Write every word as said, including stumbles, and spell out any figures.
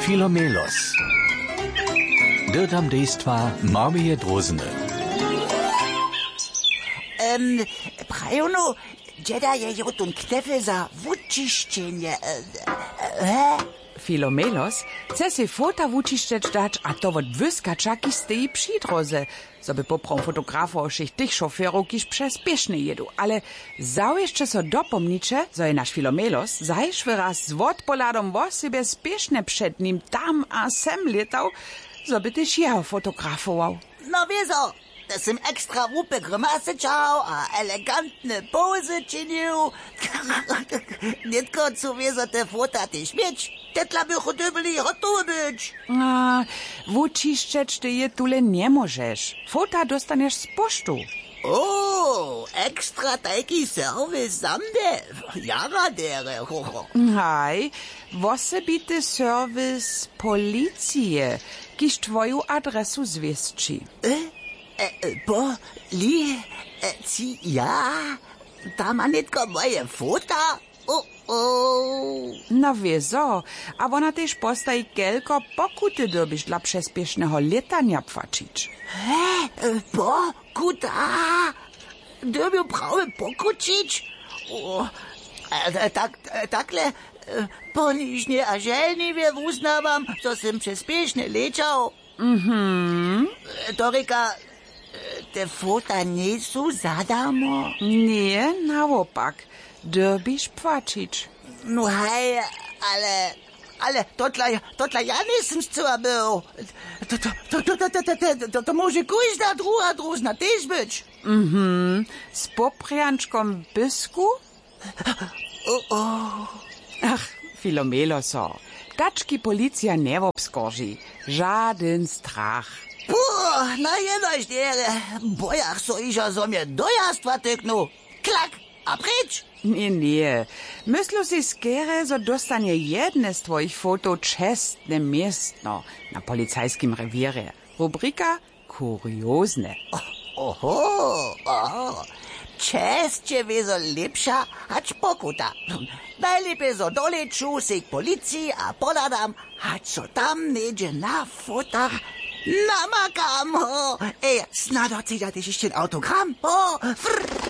Filomelos. Dyrdam dejstwa Marmije Drózny. Em, prajownu, dźeda je jotun knjefel za wučišćenje, e, e, he? Filomelos chce sej fota wučišćeć dać, a to wot wyskača, kiž steji při dróze, zo by poprawom fotografował wšěch tych šoferow, kiž přespěšnje jědu. Ale zawěsće so dopomniće, zo je naš Filomelos zašły raz z wotpohladom wosebje spěšnje před nim tam a sem lětał, zo by tež jeho fotografował. No wězo, te sym ekstra łupy grymasy ćahał a elegantne pozy činił. Nětko chcu wězo te fota tež měć. Te dla bychu dyrbjeli hotowe być. A, wučišćeć ty je tule njemóžeš. Fota dóstanješ z poštu. O, ekstra tajki serwis za mnje. Jara derje, ho, ho. Haj, wosebity serwis policije, kiž twoju adresu zwěsći. E, e, e, po, li, e, ci, ja, tam ma nětko moje fota. O, o. No wězo, a wona tež postaji, kelko pokuty dyrbiš dla přespěšneho lětanja płaćić. He, e, pokuta? Dyrbju prawje pokućić? O, e, e, tak, e, takle, e, ponižnje a želniwje wuznawam, zo sym přespěšnje lěćał. Mhm. To rěka, te fota njejsu za darmo? Ně, nawopak, dyrbiš płaćić. No haj, ale, ale to dla, to dla ja njejsym scyła był. To, to, to, to, to, to, to, to, to móže kóžda druha drózna tež być. Mhm, z poprjančkom w pysku? O, o. Ach, Filomelo so. Tački policija njewobskorži. Žadyn strach. Puh, na jenož derje. Bojach so hižo, zo mje dojazd watyknu. Klak, a pryč. Ně, ně. Myslu sej skerje, zo dóstanje jedne z twojich fotow čestne městno na policajskim rewěrje. Rubrika kuriozne. Oho, oho. Česće wězo lěpša hač pokuta. Najlěpje zo dolěću sej k policiji a pohladam, hač so tam něhdźe na fotach namakam, ho. Ej, snado chcedźa tež hišće autogram, ho. Frr.